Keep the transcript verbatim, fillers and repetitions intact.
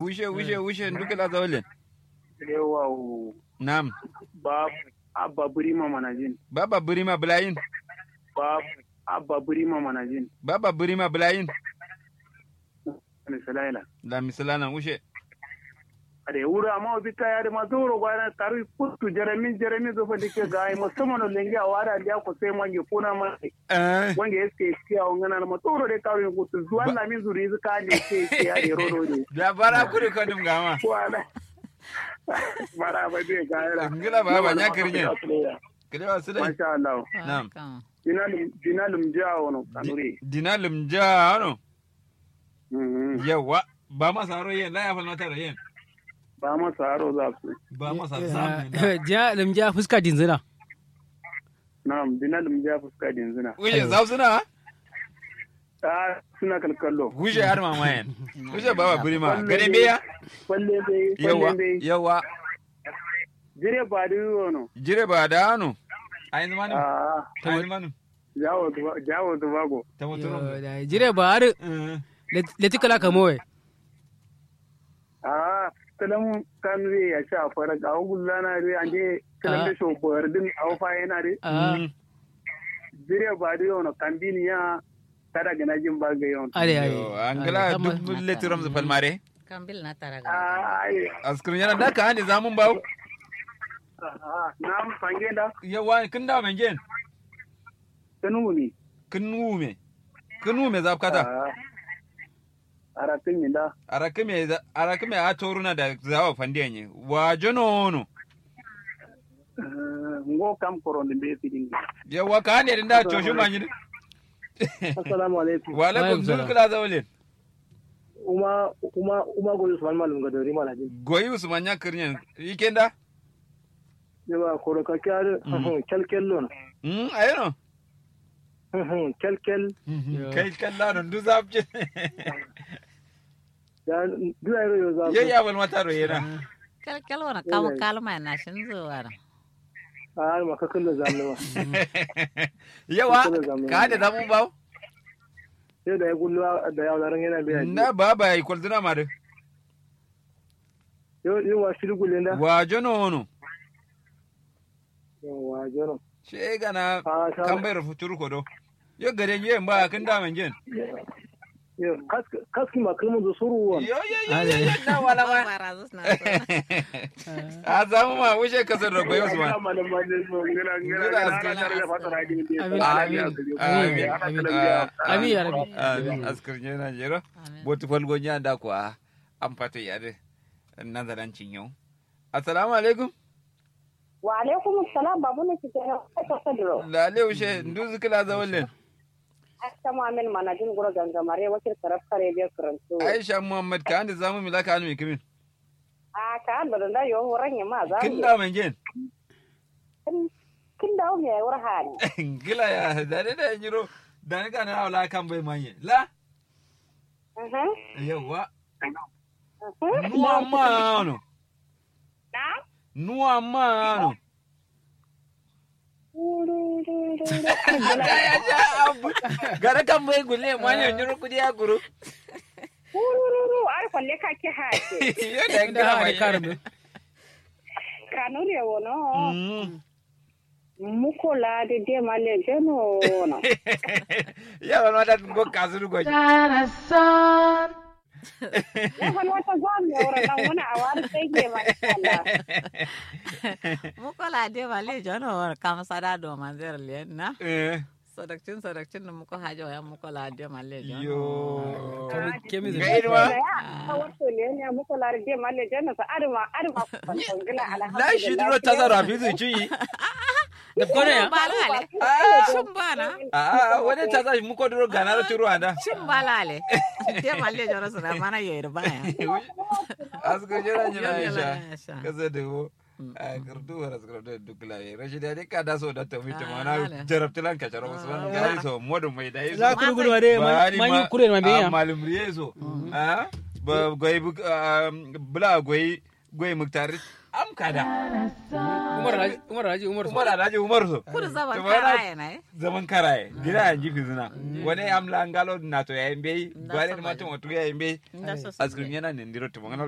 Wushe wushe wushe ndu kǝla zaulin. Yawa. Nam. Ba abba burima manajin. Ba abba burima bulayin. Ba abba burima manajin. Ba abba burima bulayin. Misalailan. La misalailan wushe. Ade wuro amma obi kaya de ma zauro gwana karu kuttu jaramin jaramin zo fa dike ga ai musamman lenge a wada ndiya ko sai mange kuna ma. Eh. Wange eske eske a wangana ma zauro de karu kuttu zuwan la min zuri zuka de ke ke ya de rodo de. Da bara kuri ko dum gama. Wala. Bara ba de ga ira. Ngila ba ba nya kirnye. Kile wa sile. Masha Allah. Nam. Dinalum dinalum ja wono kanuri. Dinalum ja wono. Yawwa. Ba ma saro yen la ya falmata da yen. Ba ma saro za su. Ba ma saro za mu. Ja lamja fuska dinzina. Na'am dina lamja fuska dinzina. Wuje za su na. Ta suna kalkallo. Wuje har mama yen. Wuje baba burima gare beya. Kwalle be. Yawwa. Yawwa. Jire ba da yono. Jire ba da no. Ayin manu. Ayin manu. Jawo tubago. Jire ba har. Leti kala kamowe. Aa. Tǝlǝm kan ri ya sha farak awo gullana ri ande tǝlǝm da sho bordin awo fayena ri. Jire ba dǝ yono kambin ya. Tada gǝna jin ba ga yono. Are are. Angla duk leti ramzǝ falmare. Kambil na tara ga. Askǝr yana da ka hande zamun bawo. Nam fange da. Yawa kǝn da mangen. Kǝn wume. Kǝn wume. Kǝn wume zafkata. Arakǝmi nda. Arakǝmi a toruna da zawo fandiya nye wa jono wono. Ngo kam korondi mbe fidin. Yawa ka hande din da coshin manyi din. Assalamu alaikum. Wa alaikum salam kula zawalin. Uma uma uma goyi usman malum ga dori malajin. Goyi usman ya kirnyen. Ikenda. Yawa koro ka kyar. Kyalkyal lon. Ayeno. Kyalkyal. Kyalkyal lano ndu zafcin. Ndu ayero yo zafcin. Yayya balmata ro yena. Kyalkyal wana kamo kalma na shin zuwa. A ma kakalla zamne ma. Yawa. Ka da zamu bawo. Yau da ya gullu da ya wala ran yana biya. Na baba ya yi kwalzuna ma dai. Yo yo wa shiri gulle nda. Wa jono wono. Yo wa jono. She gana kambai rafu turu kodo. Yo gare nge mba kin da mangen. Yo kaski ma kalmun zo suru won. Yo yo yo yo na wala ma. A zamu ma wuje kasar da goyo su ma. Amin amin amin amin ya rabbi. Amin askar ne na jero. Botu falgo nya da kwa. An fato yare. Nan zaran cinyo. Assalamu alaikum. Wa alaikum assalam babu ne kike na kasa duro. Lale ushe nduzu kila zawallen. Aisha muhammad manajin guro gangamare wakil karab kare biya karantu. Aisha muhammad ka ande zamu milaka anu mikimin. A ka ando da yo horan ya ma zamu. Kin da mangen. Kin da me wurhani. Gila ya da da nyiro da ni kana wala kan bai manye la. Yawwa. Nuwa ma ano. Nuwa ma ano. Gara kan bai gulle ma ne nyuru kudi ya guru. Urururu ar kwalle ka ke ha ke. Yo da ga ma karbe. Kanu ne wono. Muko la de de ma le jeno no. Ya wani wata go kasuru go. Tarasan. Ya wani wata go mi ora na wani awar sai ke ma inshallah. Muko la de ma le jeno kam sada do manzer le na. Eh. Sodakcin sodakcin no muko hajo ya muko la de ma le jeno. Yo. Kemi zai. Ga irma. Wato ne ya muko la de ma le jeno sa arma arma. La shi duro tasarrafi su ci. Kone ya. Shin bana. A wani ta sa muko duro gana da turu anda. Shin balale. Te malle joro sura mana yo ir baya. Asko jira jira aisha. Kasa da wo. A kartu wara sura da duk laye rashid ya dika da so da tawi ta mana jarabtilan ka jaro usman gari so modu mai da iso. Za ku gudu ma dai manyu kure ma biya. Malum riye so. A ba goyi bula goyi. Goye muktar am kada. Umar alhaji umar so. Umar alhaji umar so. Kudu zaman karaye na ye. Zaman karaye gida ya nji fizina. Wane am la ngalo nato ya yi mbeyi. Gwane ma tumo tuga ya yi mbeyi. Askirin yana ne ndiro tumo ngana.